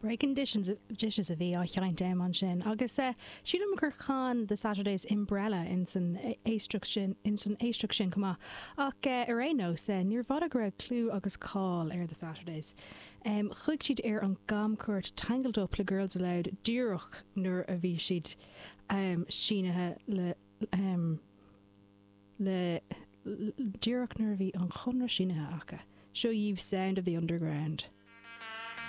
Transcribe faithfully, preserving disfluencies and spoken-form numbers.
Breaking Dishes, dishes a bhí á sheinnt ansin agus uh, sílim gur chan The Saturdays Umbrella in san éisteacht sin in san éisteacht sin chomh maith ach uh, ar aon nós uh, níor bhfada go raibh clú agus cáil ar The Saturdays. Um, chuaigh siad ar an gcamchuairt Tangled Up le Girls Aloud díreach nuair a bhí siad um, sínithe le um, le díreach nuair a bhí an conradh sínithe acu. Seo dhaoibh Sound of the Underground.